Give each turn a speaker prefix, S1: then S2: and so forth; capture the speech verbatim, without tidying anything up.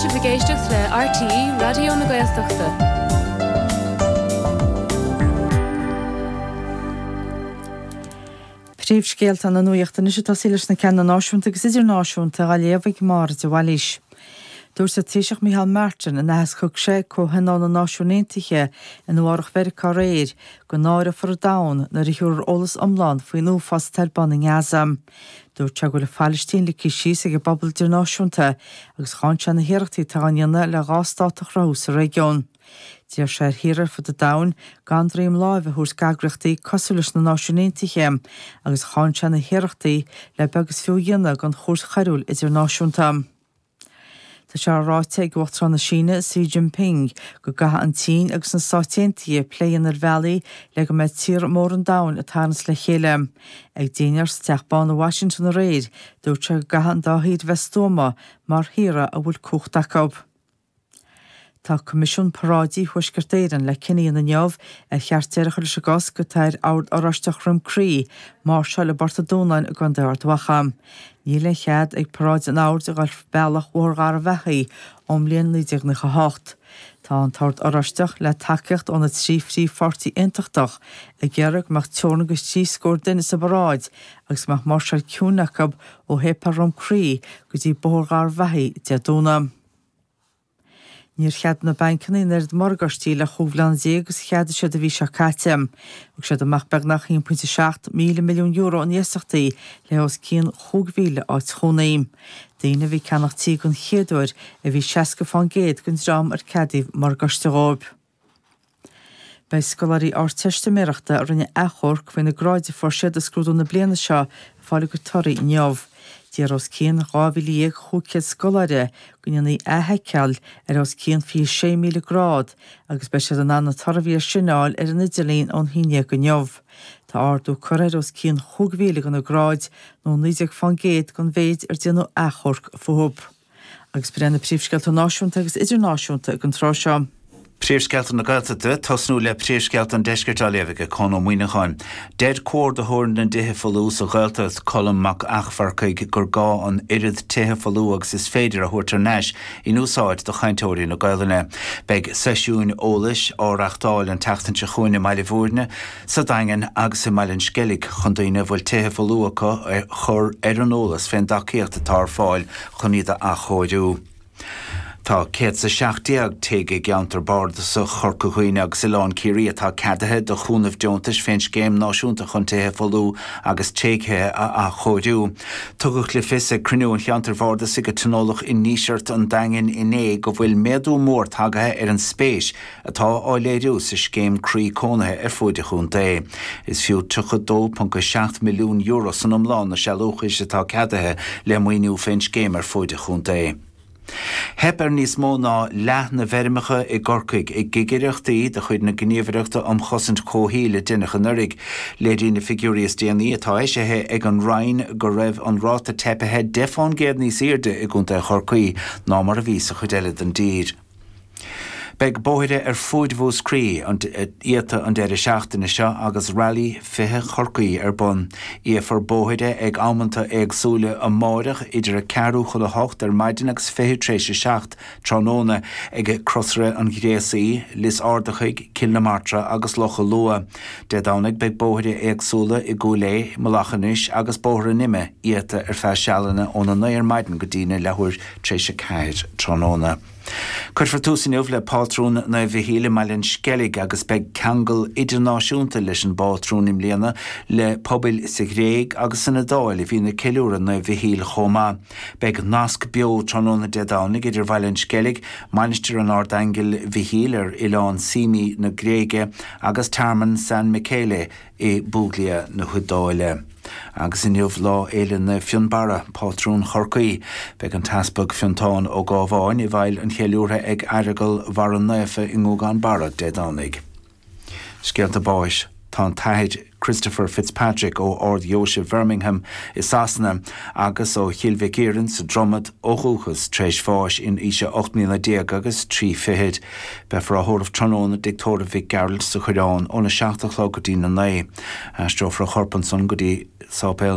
S1: sibh ag éisteacht le RTÉ Raidió na Gaeltachta.
S2: Príomhscéalta na nuachta anois ag tosaí leis na ceanna náisiúnta agus idirnáisiúnta á léamh ag Máire de Bhailís. Dúirt an Taoiseach Micheál Martin in aitheasc a thug sé ag Comhthionól na Náisiún Aontaithe i Nua-Eabhrac Mheiriceá aréir go náireofar an domhan nuair a thabharfar eolas iomlán faoin uafás atá ar bun i nGaza. Dúirt sé go bhfuil an Phalaistín ligthe síos ag an bpobal idirnáisiúnta agus cháin sé na hiarrachtaí atá á ndéanamh le dhá stát a chruthú sa réigiún. D'iarr sé ar thíortha ar fud an domhain gan droim láimhe a thabhairt d'eagraíochtaí cosúil leis na Náisiúin Aontaithe agus cháin sé na hiarrachtaí le beag is fiú a dhéanamh den Chúirt Choiriúil Idirnáisiúnta. Tá sé ráite ag Uachtarán na Síne Xi Jinping go gcaithfidh an tSín agus na Stáit Aontaithe plé a dhéanamh ar bhealaí le go mbeidh tíortha móra an domhain ag tarraingt le chéile. Ag dinnéar sa Teach Bán i Washington aréir, dúirt sé go gcaithfidh an dá thír bheith stuama mar thíortha a bhfuil cumhacht acu. Tá Coimisiún Paráidí Thuaisceart Éireann le cinneadh a dhéanamh inniu ar cheart deireadh a chur leis an gcosc atá ar Ord Oráisteach Dhroim Crí máirseáil i bPort an Dúnáin i gContae Ard Mhacha. Níl aon chead ag paráid an Oird a dhul bealach Bhóthar Gharbhachaidh ón mbliain naoi déag nócha a hocht. Tá an tOrd Oráisteach le tacaíocht ó na trí phríomhpháirtí aontachtach ag iarraidh go mbeadh teorainn de thrí scór duine sa bparáid agus go mbeadh máirseáil ciúin acu ó Shéipéal Dhroim Crí go dtí Bóthar Gharbhachaidh Dé Domhnaigh. Níor cheadaigh na bancanna an oiread morgáistí le chúig bhliana déag agus a cheadaigh siad an mhí seo caite. Thug siad amach beagnach haon pointe seacht míle milliún euro in iasachtaí le os cionn chúig mhíle áit chónaí. Daoine a bhí ag ceannach tí den chéad uair a bhí seasca fán gcéad den dream ar ceadaíodh morgáiste dhóibh. Beidh scoláirí Ardteistiméireachta a rinne achomharc faoi na gráid a fuair siad i scrúdú na bliana seo ag fáil a gcuid torthaí inniu. D'iarr os cionn dhá mhíle dhéag chúig chéad scoláire go ndéanfaí athsheiceáil ar os cionn fiche sé míle grád agus beidh siad in ann na torthaí air sin a fháil ar an idirlíon ón haon déag inniu. Tá ardú curtha ar os cionn chúig mhíle de na gráid nó naoi déag fán gcéad den mhéid ar déanadh achomharc fúthu. Agus b'in iad na príomhscéalta náisiúnta agus idirnáisiúnta ag an tráth seo.
S3: Príomhscéalta na Gaeltachta, tosnú le príomhscéalta an Deiscirt á léamh ag Conn Ó Muíneacháin. Deir comhordaitheoir na dtithe folmha sa Ghaeltacht, Colm Mac Eachmharcaigh, gur gá an oiread tithe folmha agus is féidir a thabhairt thar n-ais in úsáid do chainteoirí na Gaelainne. Beidh seisiúin eolais á reáchtáil an tseachtain seo chugainn i mBaile Bhúirne, sa Daingean agus i mBaile an Sceilg chun daoine a bhfuil tithe folmha acu a chur ar an eolas fén dtacaíocht atá ar fáil chun iad a athchóiriú. Tá céad is a seacht déag tigh i gceantar bardasach Chorca Dhuibhne agus Oileán Ciarraí atá ceadaithe do chúnamh deontais fén Scéim Náisiúnta chun Tithe Folmha agus Tréigthe a Athchóiriú. Tugadh le fios ag cruinniú an cheantair bhardasaigh a tionóladh i nDíseart an Daingin inné go bhfuil méadú mór tagaithe ar an spéis atá á léiriú sa scéim Croí Cónaithe ar fuaid an chontae. Is fiú tríocha dó ponc a seacht milliún euro san iomlán na sealúchais atá ceadaithe le maoiniú fén scéim ar fuaid an chontae. Theip ar níos mó ná leath na bhfeirmeacha i gCorcaigh i gcigireachtaí de chuid na Gníomhaireachta um Chosaint Comhshaoil a deineadh anuraidh. Léiríonn na figiúirí is déanaí atá eisithe ag an Roinn go raibh an ráta teipithe deich fán gcéad níos airde i gContae Chorcaí ná mar a bhí sa chuid eile den dtír. Beidh bóithre ar fuaid Mhúscraí iata an deireadh seachtaine seo agus Rally fiche Chorcaí ar bun. Iafar bóithre ag amanta éagsúla amáireach idir a ceathrú chun a hocht ar maidin agus fiche tar éis a seacht tráthnóna ag Crosaire an Ghréasaí, Lios Ardachaigh, Cill na Martra agus Loch a' Lua. Dé Domhnaigh beidh bóithre éagsúla i gCúil Aodha, Mullach Inis agus Bóthar an Ime iata ar feadh sealanna óna naoi ar maidin go dtí na leathuair tar éis a ceathair tráthnóna. Cuirfear tús inniu le pátrún Naomh Mhichíl i mBaile an Sceilg agus beidh ceangal idirnáisiúnta leis an bpátrún i mbliana le pobail sa Ghréig agus san Iodáil a bhíonn ag ceiliúradh Naomh Mhichíl chomh maith. Beidh nasc beo tráthnóna Dé Domhnaigh idir Bhaile an Sceilg, Mainistir an Ardaingil Mhichíl ar Oileán Symi na Gréige agus Tearmann San Michele i bPuglia na hIodáile. Agus inniu Lá Fhéile Naomh Fionnbarra, pátrún Chorcaí. Beidh an tEaspag Fiontán Ó Gábháin i bhfeighil an cheiliúrtha ag Aireagal Bharra Naofa i nGúgán Barra Dé Domhnaigh. Scéalta báis. Tá an tAthair Christopher Fitzpatrick ó Ard-Dheoise Bhirmingham i Sasana agus ó Chill Mhic Iarainn sa Dromad ó dhúchas tar éis bháis in aois a ocht mbliana déag agus trí fichid. Beifear á thórramh tráthnóna i dTigh Tórraimh Mhic Gearailt sa Choireán óna seacht a chlog go dtí na naoi. Aistreofar a chorp ansan go dtí Sáipéal